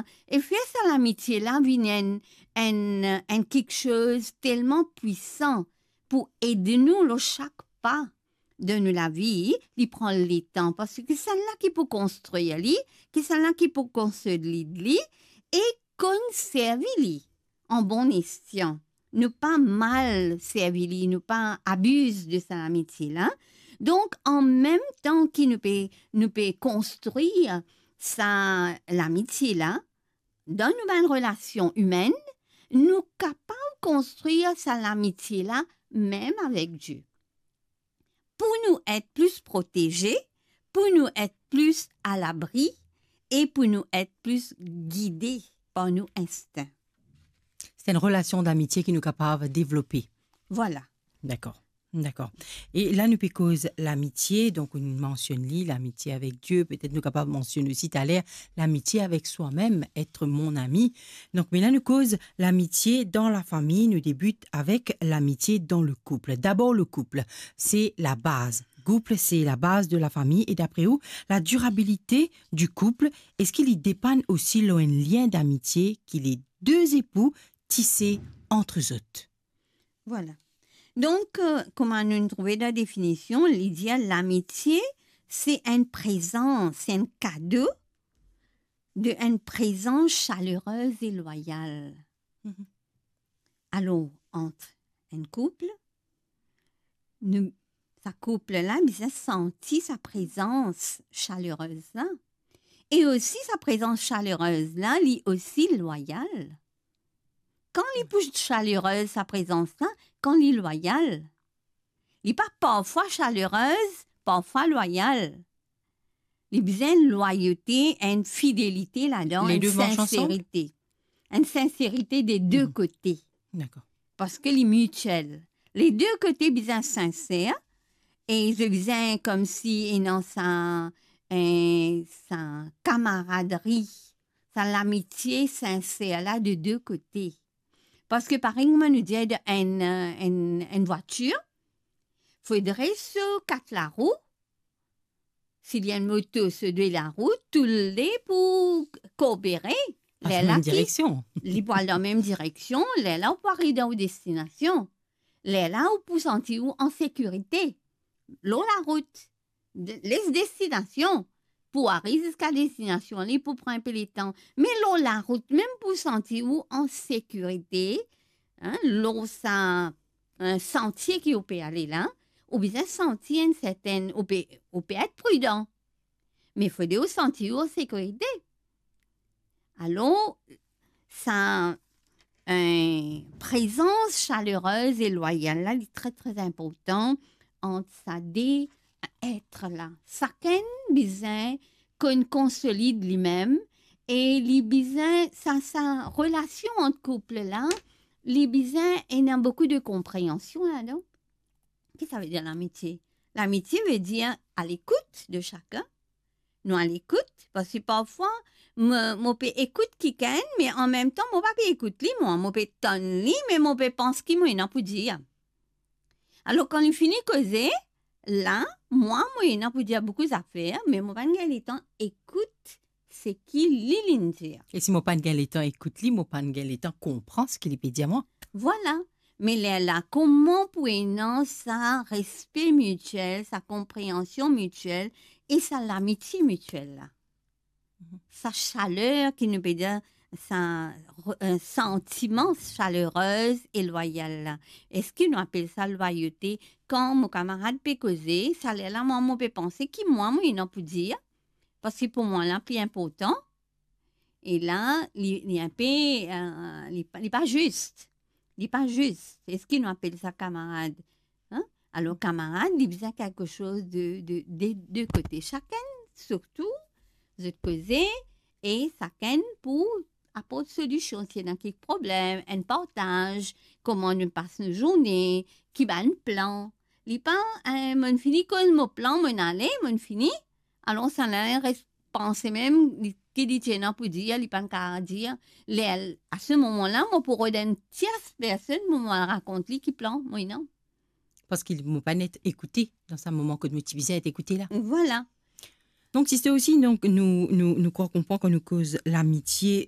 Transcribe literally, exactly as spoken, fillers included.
e fer sa lamitie la vinn enn, enn, enn kiksoz telman pwisan pou ed nou lor sak pa dan nou lavi, li pran letan, parski sannla ki pou konstrir li, ki sannla ki pou konsolid li, e konn servi li an bon esyan. Nou pa mal servi li, nou pa abiz de sa lamitie la. Donk, an mem tan ki nou pe, nou pe konstrir sa lamitie la, dan nou bann relasion imenn, nou kapav konstrir sa lamitie la mem avek Die. Pou nou et plis proteze, pou nou et plis alabri e pou nou et plis gide par nou instin. Se enn relasion damitie ki nou kapav devlope. Vwala. Dakor. Dakor. E la, nou pe koz lamitie, donk nou mansionn li, lamitie avek Die, petet nou kapav mansionn osi taler lamitie avek swamem, être mon ami. Donk, me la, nou koz lamitie dan lafami, nou debit avek lamitie dan le couple. D'abord, le couple, c'est la base. Couple, c'est la base de la famille. E dapre ou, la durabilité du couple, eski li depann osi lor enn lien d'amitié ki les deux époux tisse entre zot? Vwala. Donk, euh, kouma nou trouve dan definision, li dir lamitie, se enn prezans, se enn kado de enn prezans salerez e lwayal. Mhm. Alor, ant enn koup, nou, sa koup la bizin santi sa prezans salerez la. E osi sa prezans salerez la, li osi lwayal. Kan li pou salerez, sa prezans la, kan li lwayal. Li pa parfwa salerez, parfwa lwayal. Li bizin lwayote, enn fidelite ladan, Les deux marchent ensemble? Enn sinserite. Enn sinserite de de Mhm. kote. Dakor. Parski li mitiel. Les deux kote bizin sinser e zot bizin koumsi ena sa, eh, sa kamaradri, sa lamitie sinser la de de kote. Parski parey kouma nou dir, enn, enn, enn vwatir, fodre so kat larou, si li enn moto, so de larou, toule pou koopere. Pas Lerla mem ki direksion. Li pou al dan mem direksion, lerla ou pou ariv dan ou destinasion. Lerla ou pou santi ou an sekirite lor larout. De-, les destinasion, pou ariv ziska destinasion, li pou pran enpe letan. Me lor larout, mem pou santi ou an sekirite, hein, lor sa, eh, santie ki ou pe ale la, ou bizin santi enn sertenn, ou pe, ou pe et pridan. Me fode ou santi ou an sekirite. Alor, sa, eh, prezans salerez e lwayal la, li tre, tre inportan ant sa de et la. Sakenn bizin konn konsolid limem e li bizin, sa, sa relasion ant koup la, li bizin ena boukou de konpreansion ladan. Ki sa ve dir lamitie? Lamitie ve dir a lekout de sakenn. Nou a lekout, parski parfwa, mo, mo pe ekout kikenn, me an mem tan, mo pa pe ekout li, mwa, mo pe tann li, me mo pe pans ki mo ena pou dir. Alor, kan li fini koze, la, mwa, mo ena pou dir boukou zafer, me mo pa gagn letan ekout seki li, li'nn dir. E si mo pa gagn letan ekout li, mo pa gagn letan konpran seki li pe dir mwa. Vwala. Me lerla, kouma pou ena sa respe mitiel, sa konpreansion mitiel e sa lamitie mitiel la? Mhm. Sa saler ki nou pe dir, sa re-, eh, santiman salerez e lwayal la. Eski nou apel sa lwayote? Kan mo kamarad pe koze, sa lerla mwa, mo pe panse ki mwa, mo ena pou dir, parski pou mwa la pli inportan. E la, li, li enpe, eh, li pa, li pa zis. Li pa zis. Eski nou apel sa kamarad? Hein? Alor, kamarad, li bizin kelke soz de, de, de, de kote. Sakenn, sirtou, zot koze, e sakenn pou aport solision. Si ena kek problem, enn partaz, kouma nou pas nou zourne, ki bann plan. Li pa, eh, mo'nn fini koz mo plan, mo'nn ale, mo'nn fini. Alor, sa la res panse mem, li, ki li ti ena pou dir, li pa'nn kapav dir. Ler, a se moman la, mo pou rod enn tiers personn, mo, mo rakont li ki plan mo ena. Parski mo pa'nn et ekoute dan sa moman kot mo ti bizin et ekoute la. Vwala. Donk, sister osi, donk, nou, nou, nou krwar konpran kan nou koz lamitie,